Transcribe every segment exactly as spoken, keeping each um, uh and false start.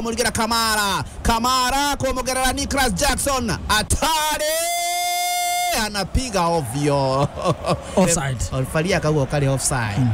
kumurigira Kamara. Kamara kumugerera Nicholas Jackson. Atari anapiga ovyo. Offside. Referee akauga ukari offside.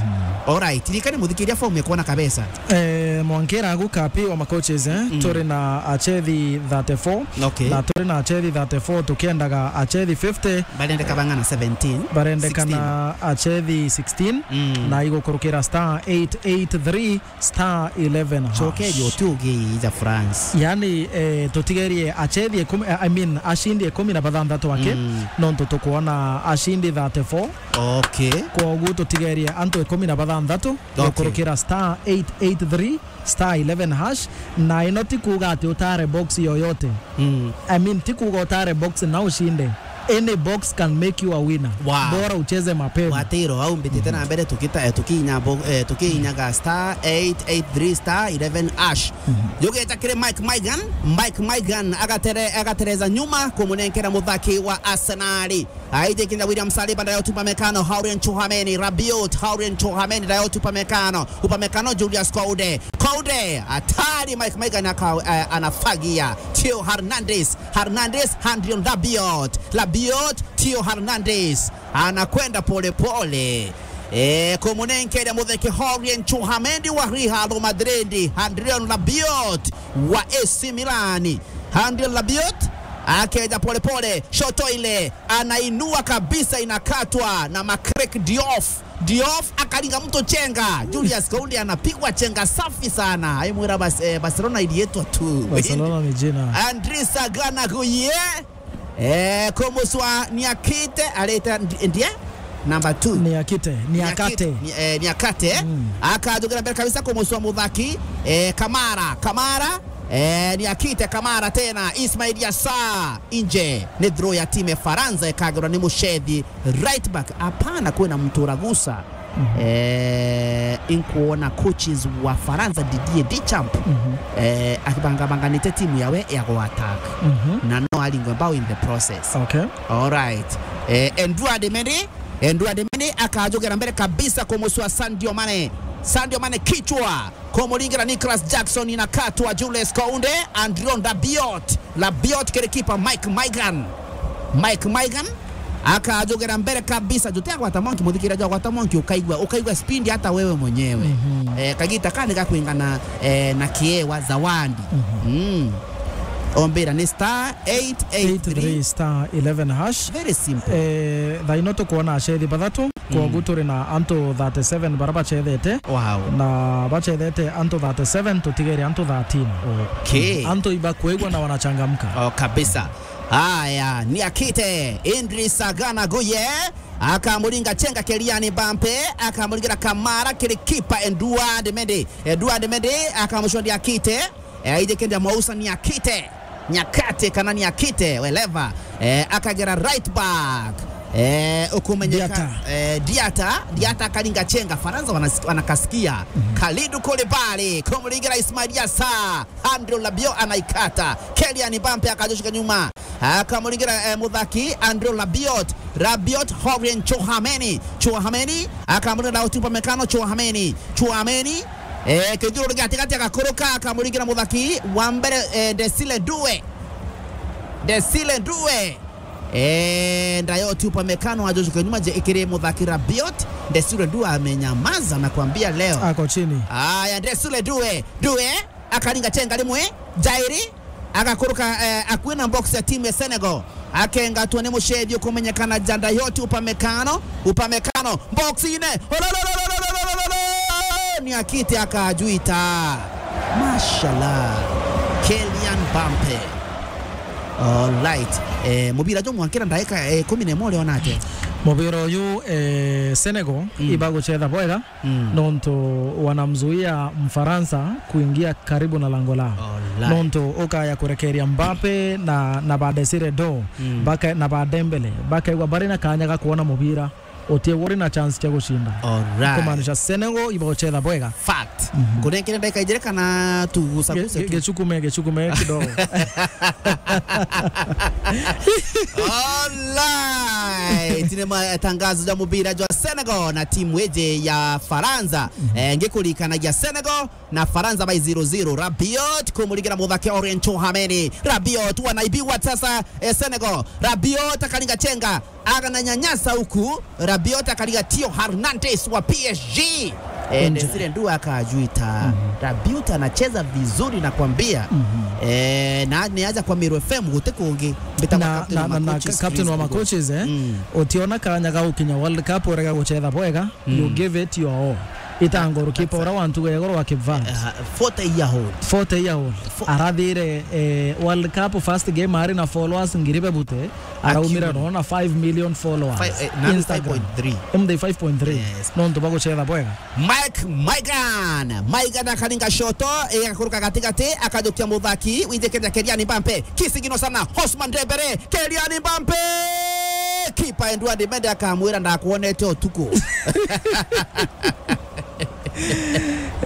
Alright, ririkani muthikiria form ikuona kabisa. Eh, mwankira agu kapi wa macoaches, eh? Turi na achethi thirty-four. Okay. Na turi na achethi thirty-four, tukiendaga achethi fifty. Barendeka bang'ana? Seventeen. Barendekana achethi sixteen. Na igukurukira star eight eight three star eleven hash. Chokeria utugi ja France. Yani, eh, tutigerie achethi ikumi, eh, I mean, ashindi ikumi na bathanthatu aki, nontu tukwona ashindi thirty-four. Okay. Kwogu tutigerie antu ikumi na bathanthatu, okay, gukurukira star eight eight three star eleven hash, na ino ti kuuga ati utare box yoyote. I mean, ti kuuga utare box na ushinde. Any box can make you a winner. Wow. Bora ucheze mapema. Watiro, au mbitite na mbere tukita, eh, tukiinya bo-, eh, tukiinyaga star eight eight three star eleven hash. Yugeta kiri Mike Maignan, Mike Maignan agatere-, agatereza nyuma kumunenkera muthaki wa Arsenal. Aije kinya William Saliba, Dayot Upamecano, Aurelien Tchouameni, Rabiot, Aurelien Tchouameni, Dayot Upamecano, Upamecano, Julius Kounde, Kounde, atari Mike Maignan aka-, eh, anafagia. Theo Hernandez, Hernandez, Andrion Rabiot, Rabiot, Theo Hernandez, anakwenda pole pole. Eh, kumunenkeria mutheke Aurelien Tchouameni wa Real Madrid, Andrion Rabiot wa A C Milan. Andrion Rabiot akeja pole pole, shoto ile anainua kabisa, inakatwa na Marc-Diouf. Diouf akaringa mtu chenga. Julius Kounde anapigwa chenga safi sana. Aimwira Bas-, eh, Barcelona ilietwa tu. Barcelona ni jina. Idrissa Gana Gueye. Eh, kumuswa Niakite, areta ndi-, ndie? Number two. Niakite, Niakate. Niakite, ni-, eh, Niakate. Akajugira mbere kabisa kumuswa muthaki, eh, Kamara, Kamara, eh, Niakite, Kamara tena, Ismail Yassar, inje. Ni throw ya timu ya Faransa ikagirwa ni mucethi right back. Hapana, kwina mtu uragusa. Eh, inkuona coaches wa Faransa, Didier Deschamps, eh, akibangabanganite timu yawe ya go attack. Na no aringwe mbao in the process. Okay. All right. Eh, Edouard Mendy, Edouard Mendy akajugira mbere kabisa kumuswa Sadio Mane. Sadio Mane kichwa. Kumuringira Nicholas Jackson, inakatwa Julius Kounde, Andrion Rabiot. Rabiot kiri kipa Mike Maignan. Mike Maignan akajugira mbere kabisa. Jute agwata monki, muthikira jo agwata monki, ukaigua, ukaigua speed hata wewe mwenyewe. Eh, kagita kani gakwingana, eh, na kiewa zawadi. Mm. Ombira ni star eight eight three star eleven hash. Very simple. Eh, thaino tukwona achethi bathatu. Kwogu turi na antu thirty-seven bara bachethete. Wow. Na bachethete antu thirty-seven, tutigere antu thirteen. Okay. Antu ibakwigua na wanachangamka. Oh, kabisa. Haya, Niakite, Idrissa Gana Gueye, akamuringa chenga Kylian Mbappe, akamuringira Kamara kiri kipa Edouard Mendy. Edouard Mendy akamucwa Niakite. Eh, aije kenda mwausa Niakite. Niakate kana Niakite, wherever. Eh, akagera right back. Eh, ukumenyeka, Diata. Eh, Diata, Diata akaringa chenga, Faransa wanas-, wanakasikia. Kalidou Koulibaly, kumuringira Ismail Yassar, Andrion Rabiot anaikata. Kylian Mbappe akajoshika nyuma. Akamuringira, eh, muthaki, Andrion Rabiot. Rabiot, Aurelien Tchouameni. Tchouameni, akamuringira Dayot Upamecano, Tchouameni. Tchouameni, eh, kijuru ri gatigati agakuruka, akamuringira muthaki wa mbere, eh, Désiré Doué. Désiré Doué. Eh, Dayot Upamecano ajojuka nyuma je ikiri muthaki Rabiot. Désiré Doué amenyamaza na kuambia leo. Ako chini. Aya, Désiré Doué. Doué, akaringa chenga rimwe, jairi, agakuruka, eh, akui na box ya timu ya Senegal. Akengatwa ni mucethi ukumenyekana ja Dayot Upamecano. Upamecano, box-ine. Ololololololololo! Niakite akajuita. Mashallah. Kylian Mbappe. All right. Eh, mubira jo mwankira ndaika, eh, kumi na imwe uri onate? Mubira uyu, eh, Senegal ibaguchetha bwega. Nontu wanamzuia Mfaransa kuingia karibu na lango lao. Alright. Nontu ukaya kurekeria Mbappe na, na ba Désiré Doué, baka-, na ba Dembélé, bakaigua bari na kanya ga kuona mubira. uti uri na chance cia gucinda. Alright. Kumaanisha Senegal ibaguchetha bwega. Fact. Mhm. Kunenkere ndagika ijiri kana tugusagusa Ge-, ge-, tu? Gichukume, gichukume kidogo. Alright. Ni matangazo ja mubira jwa Senegal na timu iji ya Faransa. Mhm. Eh, ngikuririkanagia Senegal na Faransa by zero zero. Rabiot kumurigera muthake Aurelien Tchouameni. Rabiot wanaibiwa sasa, eh, Senegal. Rabiot akaringa chenga. Akananyanyasa huku. Rabiot akariga Theo Hernandez wa P S G. Eh, Nje. Desire Ndu akajuita. Mhm. Rabiot anacheza vizuri nakwambia. Mhm. Eh, na niaja kwa Meru F M guti kungi. Mbita kwa Na, captain na, wa na, na coaches, captain wa please, ma coaches, eh? Mm. Utiona kanya ga gukinya World Cup urega guchetha bwega. You give it your all. Ita goalkeeper ura wa ntugo ya iguru wa Kivant. Eh, forty year old. Forty year old. Fo- Arathire, eh, World Cup first game ari na followers ngiri bebute. Araumire no na five million followers. Five, eh, nani Instagram. Five point three. Emde five point three. Yes. Nontu baguchetha bwega. Mike Maignan. Maignan akaringa shoto, eh, agakuruka gatigati, akajukia muthaki, wije kenda Kylian Mbappe. Kisigino sana, Ousmane Dembele, Kylian Mbappe! Kipa Edouard Mendy akamwira, "Ndakwonete utuku."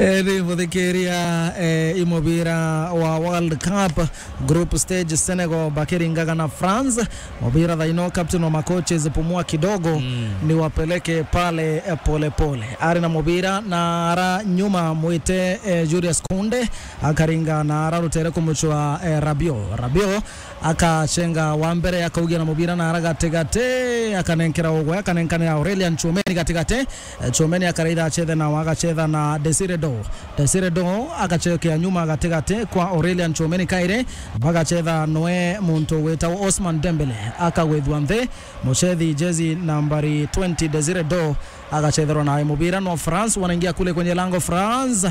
Eh, ni muthikiria, eh, i mubira wa World Cup group stage, Senegal bakiringaga na France. Mubira thaino, captain wa ma coaches, pumua kidogo, niwapeleke pale, eh, pole pole. Ari na mubira na ara nyuma mwite, eh, Jules Kounde, akaringa na ara rutere kumuchwa, eh, Rabiot. Rabiot akachenga wa mbere, akaugia na mubira na ara gatigati, akanenkera ugwe, akanenkanira Aurelien Tchouameni gatigati. Eh, Tchouameni akaraitha achethe nao, agachetha na Desire Doh. Desire Doh agachokea nyuma gatigati kwa Aurelien Tchouameni kairi, bagachetha noe muntu witagwo Ousmane Dembele, akagwithua nthi. Muchethi jezi nambari twenty Desire Doh agachetherwa nawe mubira no France, wanaingia kule kwenye lango France.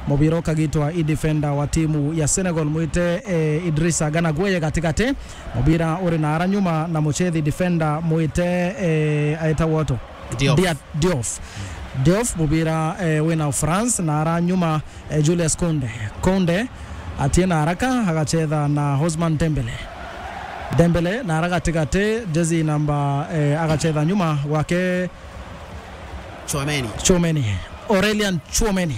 Mubira ukagitwa i defender wa timu ya Senegal mwite, eh, Idrissa Gana Gueye gatigati. Mubira uri na ara nyuma na muchethi defender mwite, eh, aitagwa atu? Diouf. Dia-, Diouf. Diouf, mubira, eh, wina France na ara nyuma, eh, Jules Kounde. Kounde atie na haraka agachetha na Ousmane Dembele. Dembele na ara gatigati, jezi namba, eh, agachetha nyuma gwake Tchouameni. Tchouameni. Aurelien Tchouameni.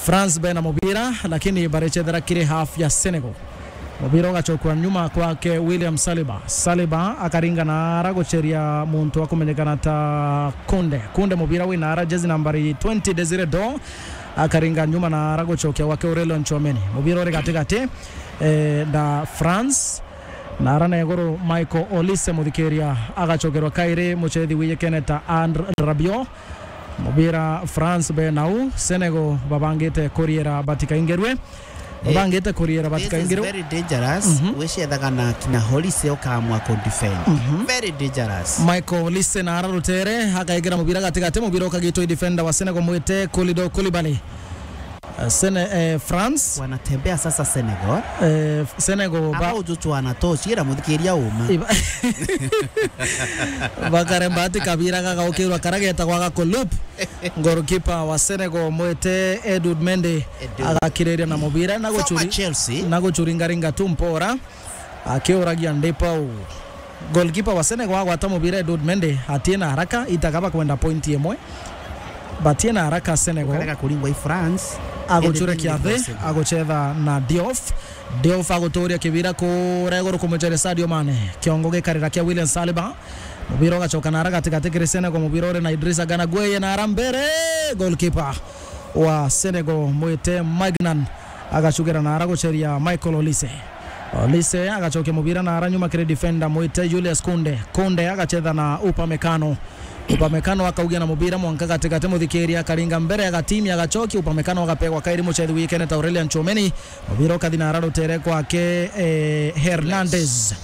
France bena mubira, lakini barechethera kiri half ya Senegal. Mubira ugachokwa nyuma kwake William Saliba. Saliba akaringa na ara gucheria muntu wa kumenyekana ta Kounde. Kounde mubira wina ara jezi nambari twenty Desire Doh. Akaringa nyuma na ara guchokia gwake Aurelien Tchouameni. Mubira uri gatigati, eh, na France. Na ara na iguru Michael Olise muthikiria agachokerwa kairi muchethi wijikene ta Andre Rabiot. Mubira France be nau, Senegal babangite kuriera batikaingirwe. Eh, babangite kuriera batikaingirwe. This is very dangerous. Mhm. Wicethaga na kina Olise ukamwa ku defend. Mhm. Very dangerous. Michael Olise na ara rutere, akaigira mubira gatigati, mubira ukagitwa i defender wa Senegal mwite Kalidou Koulibaly. Eh, Sene-, eh, France. Wanatembea sasa Senegal. Eh, Senegal ba- Aba ujuchwa na tochi, ira muthikiria uma. Iba- Bakaremba ati kabira gagaukirwa kara getagwa gakulup. Goalkeeper wa Senegal mwite Edouard Mendy. Edouard. Agakiriria na mubira na Former guchuri-, Chelsea. Na guchuringaringa tu mpora. Akiuragia ndi pau. Goalkeeper wa Senegal agwata mubira Edouard Mendy, atie na haraka, itaga bakwenda point imwe. Batie na haraka Senegal. Ukarega kuringwa i France. Aguchurekia thi, aguchetha na Diouf. Diouf aguturia kibira kuria iguru kumucheria Sadio Mane. Kiongo gikarira kia William Saliba. Mubira ugachoka na haraka gatigati kiri Senegal, mubira uri na Idrissa Gana Gueye na ara mbere. Goalkeeper wa Senegal mwite Maignan agachugira na ara gucheria Michael Olise. Olise agachokia mubira na ara nyuma kiri defender mwite Jules Kounde. Kounde agachetha na Upamecano. Upamecano akaugia na mubira mwanka gatigati muthikiria akaringa mbere agatimi agachokia Upamecano agapegwa kairi muchethi wikene ta Aurelien Tchouameni. Mubira ukathi na ara rutere kwake, eh, Hernandez.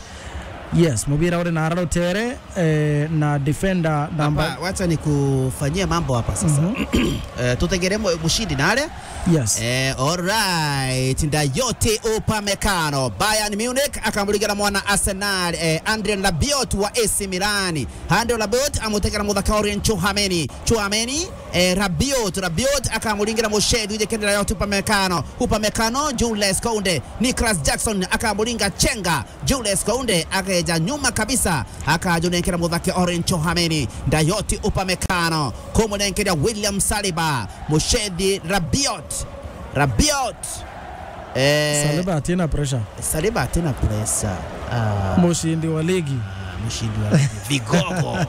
Yes, mubira uri na ara rutere, eh, na defender namba. Hapa, wacha nikufanyie mambo hapa sasa. Mhm. Eh, tutegere mu-, mushindi na aria. Yes. Eh, alright. Dayot Upamecano. Bayern Munich akamurigera mwana Arsenal, eh, Adrien Rabiot wa A C Milan. Adrien Rabiot amutegera muthaka Aurelien Tchouameni. Tchouameni eh, Rabiot. Rabiot akamuringira mucethi wije kende Dayot Upamecano. Upamecano, Jules Kounde. Nicolas Jackson akamuringa chenga. Jules Kounde akeja nyuma kabisa, akajunenkera muthaki Aurelien Tchouaméni. Dayot Upamecano, kumunenkera William Saliba. Mucethi Rabiot. Rabiot. Eh, Saliba atina pressure. Saliba atina pressure. Ah. Mucindi wa ligi. Ah, mucindi wa ligi. Vigogo.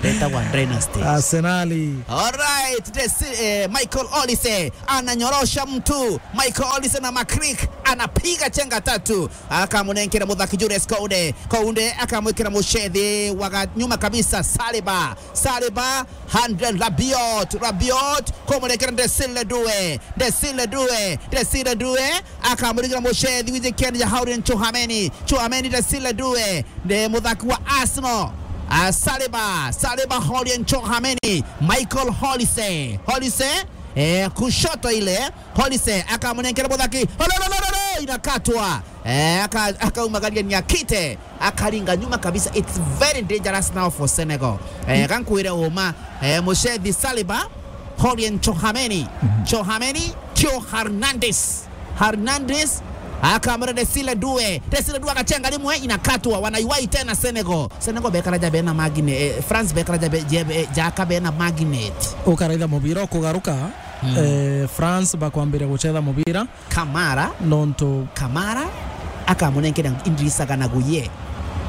Leta wa Dynasty. Arsenali. Alright, this, eh, Michael Olise ananyorosha mtu. Michael Olise na Makrik anapiga chenga tatu. Akamunenkera muthaki Jules Kounde. Kounde akamwikira mucethi wa ga-, nyuma kabisa Saliba. Saliba, Andre Rabiot. Rabiot, kumunenkera Desile Due. Desile Due. Desile Due. Akamuringira mucethi wije kende ya Aurelien Tchouaméni. Tchouaméni, Desile Due. Nde muthaki wa Arsenal. Ah, Saliba. Saliba, Aurelien Tchouaméni. Michael Olise. Olise. Eh, kushoto ile. Olise akamunenkera muthaki. Ololololo, inakatwa. Eh, aka-, akaumagaria Niakite. Akaringa nyuma kabisa. It's very dangerous now for Senegal. Eh, gankwire uma. Eh, mucethi Saliba. Aurelien Tchouaméni. Tchouaméni. Theo Hernandez. Hernandez. Akamwira Desile Due. Desile Due akachenga rimwe, inakatwa. Wanaiwai tena Senegal. Senegal bekara ja bena magnet. Eh, France bekara ja be-, je-, be-, jaka bena magnet. Ukaraitha mubira ukugaruka. Mm. Eh, France bakwambiria gucetha mubira. Kamara. Nontu Kamara akamunenkera Idrissa Gana Gueye.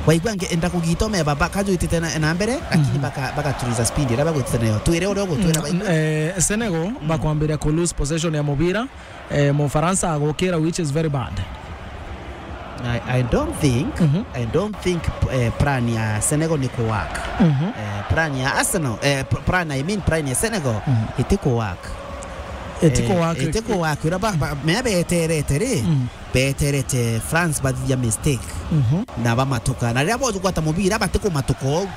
Waigua nge-, enda kugitome baba kajwitite na, na mbere, lakini baka-, bakatuliza speed iria bagwitite nayo. Twire uria ugutwira. Mm, baigua. Eh, Senegal bakwambiria ku lose possession ya mubira. Eh, Mufaransa agukira, which is very bad. I, I don't think, I don't think, eh, plan ya Senegal ni ku work. Eh, plan ya Arsenal, eh, p-, plan, I mean, plan ya Senegal iti ku work. Iti ku work. Eh, iti ku work. Ura ba, ba, mea beterete ri, beterete France bathithia mistake. Na bamatuka. Na riria bogwata mubira batikumatuka ou.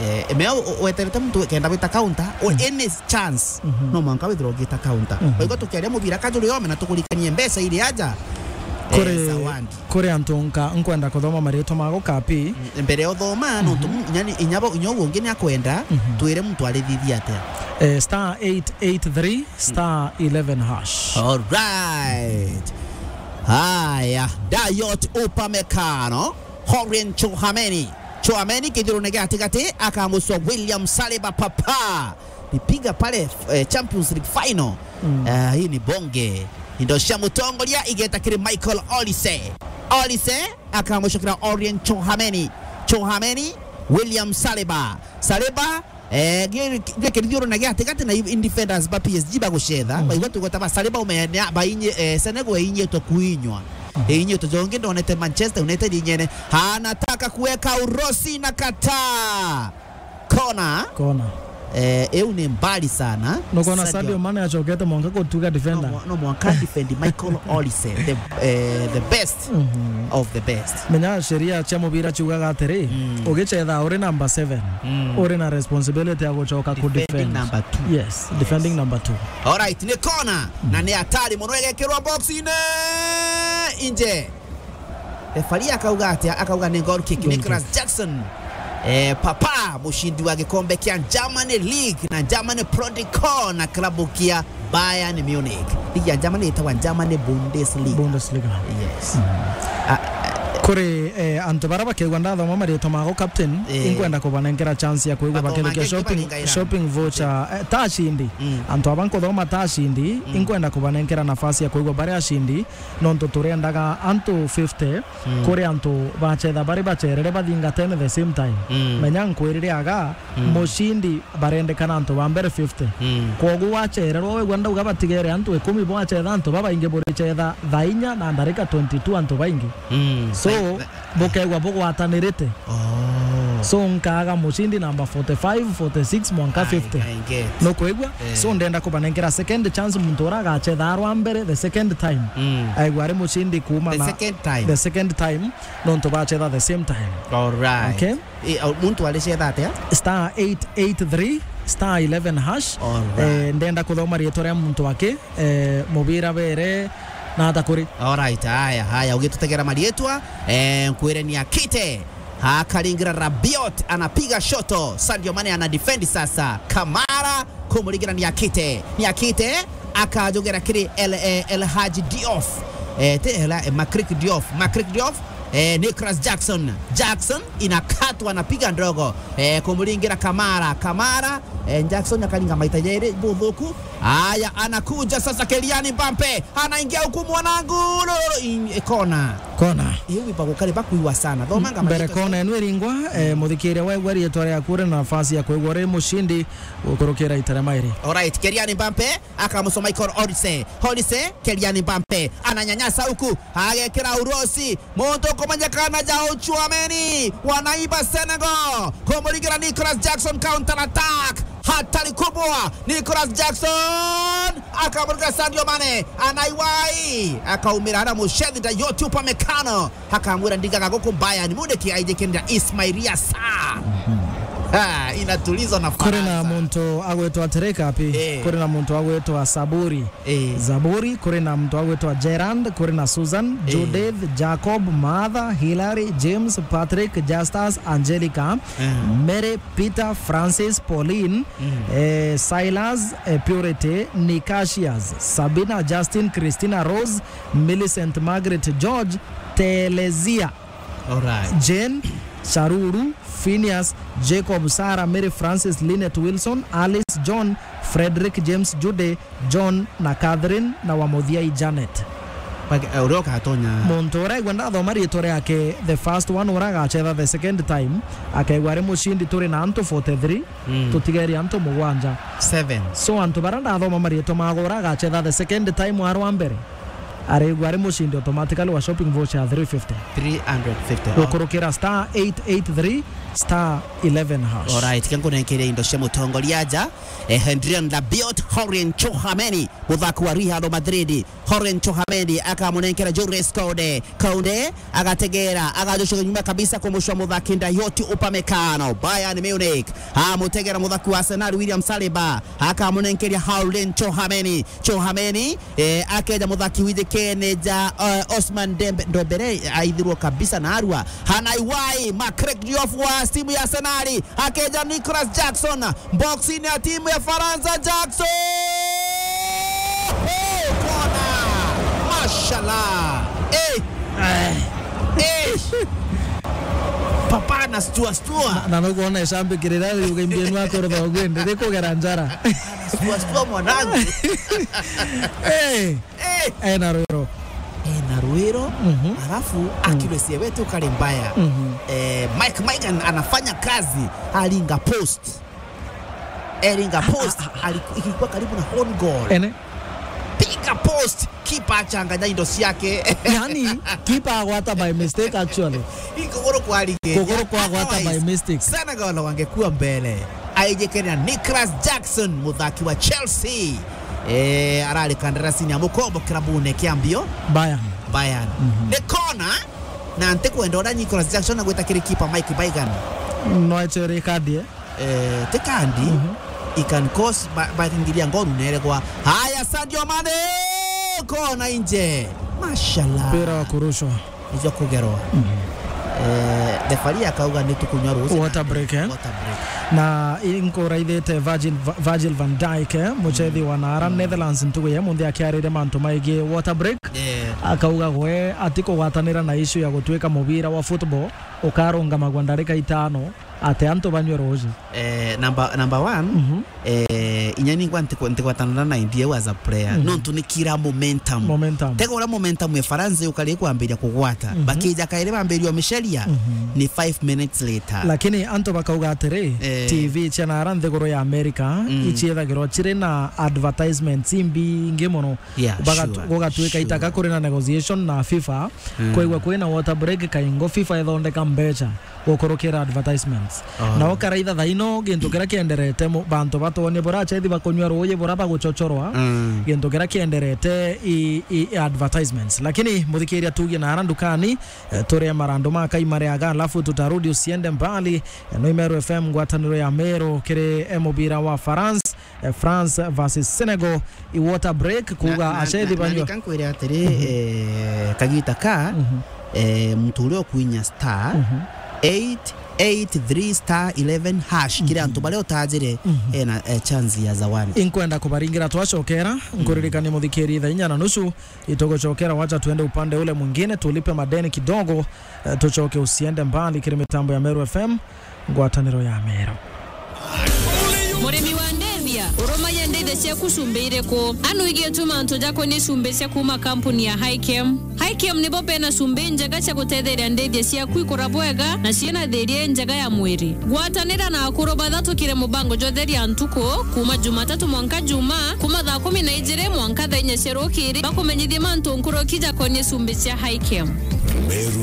Eh, mea u-, u-, weterete muntu kenda gwita counter, o any chance, no mwanka withirwa ugita counter. Waigua tukiaria mubira kajuri ome na tukurikanie mbeca iri aja. Kuri, eh, zawadi. Kuri antu nka nkwenda kuthoma maritwa mago kapi. Mm, mbere ya uthoma, nontu inya ni, inya bo, inya uu ungi ni akwenda, twire muntu arithithia atia. Eh, star eight eight three, star eleven hash. All right. Haya, Dayot Upamecano, Aurelien Tchouaméni. Tchouaméni kithirone gia gatigati, akamucwa William Saliba papa. Nipiga pale, eh, Champions League final. Eh, hii ni bonge. Indo cia mutongoria igeta kiri Michael Olise. Olise akamucokera Aurelien Tchouaméni. Tchouaméni, William Saliba. Saliba, eh, gi-, gi-, kirithio na gia gatigati na i-, in defenders ba P S G bagucetha. Baigua tugweta ba Saliba umenea, bainyi-, eh, Senegal inyitwe kuinywa. Inyitwe jongi ndonete Manchester United inyene. Anataka kuweka urosi na kataa. Kona. Kona. Eh, eu ni mbali sana. Nukona Sadio Mane acokete mwanka gutuga defender. No mwa-, no mwanka defend Michael Olise, the, eh, the best of the best. Menya sheria cia mubira ciugaga atiri, ugicetha uri number seven, uri na responsibility ya gucoka ku defend. Defending number two. Yes, defending number two. All right, ni kona na ni hatari muno igekirwa box-ini inje. Refari akauga atia? Akauga ni goal kick. Goal kick. Nicolas Jackson. Eh, papa, mushindi wa gikombe kia Germany League na Germany Pro Decor na klabu kia Bayern Munich. Ligi ya Germany itagwa Germany Bundesliga. Bundesliga. Yes. Ah, kuri, eh, antu bara bakegwa ndathoma maritwa mago captain, eh, inkwenda kubanenkera chance ya kwigwa bakithikia shopping, shopping voucher, eh, ta ashindi. Antu aba nkuthoma ta ashindi, inkwenda kubanenkera nafasi ya kwigwa bari ashindi. Nontu turiendaga antu fifty, kuri antu bacetha bari bacerere bathingatene the same time. Menya nkwirire aga, mucindi barendekana antu ba mbere fifty. Kwogu wacererwa wegwa ndauga batigere antu ikumi bwacetha antu babaingi buricetha thaa inya na ndarika twenty-two antu baingi. So, bukegwa bugwatanirite. Oh. So, nkaaga mucindi namba forty-five, forty-six, mwanka fifty. I get. Nukwigua? Eh. So, ndenda kubanenkera second chance muntu ura agacetha arwa mbere the second time. Aigua ari mucindi kuuma the na second time. The second time, nontu bacetha the same time. All right. Okay? Eh, au, muntu aricetha atia? Star eight eight three, star eleven hash. All right. Eh, ndenda kuthoma riitwa ria muntu aki. Eh, mubira bere na ata kuri. Alright, haya, haya, ugitutegera marietwa, eh, nkwire ni akite. Akaringira Rabiot, anapiga shoto. Sadio Mane ana defend sasa. Kamara, kumuringira ni akite. Ni akite, akajugera kiri El, eh, El Hadji Diouf. Eh, ti El, eh, Makrik Diouf. Makrik Diouf, eh, Nicolas Jackson. Jackson inakatwa, anapiga ndogo. Eh, kumuringira Kamara. Kamara, eh, Jackson akaringa maita jeri buthuku. Aya, anakuja sasa Kylian Mbappe. Anaingia huku mwanangu. Lolo, in, eh, kona. Kona. Iu iba gukari bakuiwa sana. Thomanga mbere maita kona enu iringwa, eh, muthikiria waigua rietwa riaku uri na nafasi ya kwigua uri mushindi gukurukira ita ria mairi. Alright, Kylian Mbappe akamusoma Michael Olise. Olise, Kylian Mbappe ananyanyasa huku, agekira urosi. Muntu ukumenyekana ja Tchouameni, wanaiba Senegal. Kumuringira Nicolas Jackson, counter attack. Hatari kubwa. Nicolas Jackson akamurika Sadio Mane. Anaiwai. Akaumira ara mucethi Dayot Upamecano. Akamwira ndigaga guku Bayern Munich aijikirira Ismail Assar. Ah, inatuliza na Faransa. Kuri na muntu agwitwa atirika api? Eh. Kuri na muntu agwitwa Saburi. Eh. Zaburi, kuri na muntu agwitwa Gerard, kuri na Susan, eh, Judith, Jacob, Martha, Hilary, James, Patrick, Justus, Angelica, eh, Mary, Peter, Francis, Pauline, mm, eh, Silas, eh, Purity, Nicasius, Sabina, Justin, Christina, Rose, Millicent, Margaret, George, Telesia, alright, Jane, Charuru, Phineas, Jacob, Sarah, Mary, Francis, Lynette, Wilson, Alice, John, Frederick, James, Judy, John na Catherine na wa muthiai Janet. Bak-, eh, uria ukatonya. Muntu uria aigua ndathoma riitwa riake, the first one uria agacetha the second time, akaigua ari mucindi. Turi na antu forty-three, mm, tutigeri antu mugwanja. Seven. So antu baria ndathoma mariitwa mago uria agacetha the second time arwa mbere, arigua ari mucindi automatically wa shopping voucher ya three fifty. Three hundred fifty. Gukurukira star eight eight three star eleven hash. Alright, ke nkunenkeria indo cia mutongoria aja. Eh, Adrien Rabiot, Aurelien Tchouameni, muthaki wa Real Madrid. Aurelien Tchouameni akamunenkera Jules Kounde. Kounde agategera, agajucuka nyuma kabisa kumucua muthaki Dayot Upamecano. Bayern Munich amutegera muthaki wa Arsenal William Saliba, akamunenkeria Aurelien Tchouameni. Tchouameni, eh, akeja muthaki wijikene ja, eh, Ousmane Dembe-, Dembele, aithirwo kabisa na arua. Hanaiwai, Marc Diouf wa timu ya Arsenal, akeja Nicolas Jackson, boxini ya timu ya Faransa, Jackson! Oh, kona! Mashallah! Eh! Eh! Eh! Papa na stua stua. Na, na nukwona icambikirira riuga imbienu akorotha ugwende, rikugera njara. Stua stua mwanangu. Eh! Eh! Ena rwiro. Ena rwiro, mhm, alafu, mm, accuracy yetu kari mbaya. Mhm. Eh, Mike Maignan anafanya kazi, aringa post. Eringa post, ali-, ilikuwa karibu na own goal. Ene? Piga post, keeper achanganya indo ciake. Yani, keeper agwata by mistake actually. Ikuguru kwa rige. Kuguru kwa gwata by mistake. Otherwise, Senegal wangekuwa mbele. Aijikene na Nicolas Jackson, muthaki wa Chelsea. Eh, arari kandarasini ya mukombo kirabune kia mbio. Bayern. Bayern. Mhm. Ni kona, na ntikwenda uria Nicolas Jackson agwita kiri keeper Mike Maignan. No echere kadi, eh? Eh, ti kandi, mhm, it can cause ba-, bakingiria ngoru neregwa. Haya, Sadio Mane, kona inje. Mashallah. Mpira wa kurushwa. Ijo kugerwa. Mhm. Eh, referee akauga ni tukunywa ruuji. Water break, eh? Water break. Na inkuraithite Virgil, Va-, Virgil van Dijk, eh, mucethi, mm, wa naara, mm, Netherlands ntugu ya munthi akiarire mantu maigi water break. Eh. Akauga gwe atikugwatanira na issue ya gutuika mubira wa football ukarungamagwa ndarika itano. Ati antu banywe ruuji. Eh, number, number one, mhm, eh, inya ningwa ntiku-, ntigwatanana na idea as a player. Mhm. Nontu ni kira momentum. Momentum. Tega uria momentum ya Faransa yukari kwambiria kugwata. Mhm. Bakija kairi bambiria umiceria, mhm, ni five minutes later. Lakini antu bakauga atiri, eh, T V cia naara nthiguru ya America, mm, iciethagirwa ciri na advertisements imbingi mono. Yeah, baga-, sure, gugatuika, sure, itaka kuri na negotiation na FIFA, mm, kwaigua kwina water break kaingo FIFA ithondeka mbeca gukurukira advertisements. Oh. Nao karaitha thaino gintu kiria kienderete mu-, bantu batwonie burachethi bakunywa ruuji bura baguchochorwa, mm, gintu kiria kienderete i, i, i advertisements. Lakini muthikiria tugie na ara ndukani, eh, turie marandu ma kai mariaga, alafu tutarudi usiende mbali. Eh, no Imeru F M, ngwataniro ya Meru kiri, eh, mubira wa France, eh, France versus Senegal. I water break, kuga na, na, achethi na, na banywa. Nika nkwire atiri, mhm, eh, kagita ka, mhm, eh, muntu uria ukuinya star, mhm, eight eight three star eleven hash. Kiri antu baria utajire, ena, eh, chance ya zawadi. Inkwenda kubaringira twacokera, nkuririkanie muthikiri thaa inya na nusu, itugucokera, wacha tuende upande ule mwingine, tulipe madeni kidogo, eh, tucoke usiende mbali kiri mitambo ya Meru F M, ngwataniro ya Meru. Murimi wa ndithia, urumagia ndithia ciaku cumbi iriku? Anu igie tu mantu jakonie cumbi cia kuma kampuni ya Hikem. Hikem nibo bena cumbi njega cia gutetheria ndithia ciaku ikura bwega na ciina thiria njega ya mwiri. Gwatanira na akuru bathatu kiri mubango jwa Theria Ntuku, kuma Jumatatu mwanka Juma, kuma thaa kumi na ijiri mwanka thaa inya cia rukiri, bakumenyithie mantu nkuruki jakonie cumbi cia Hikem. Meru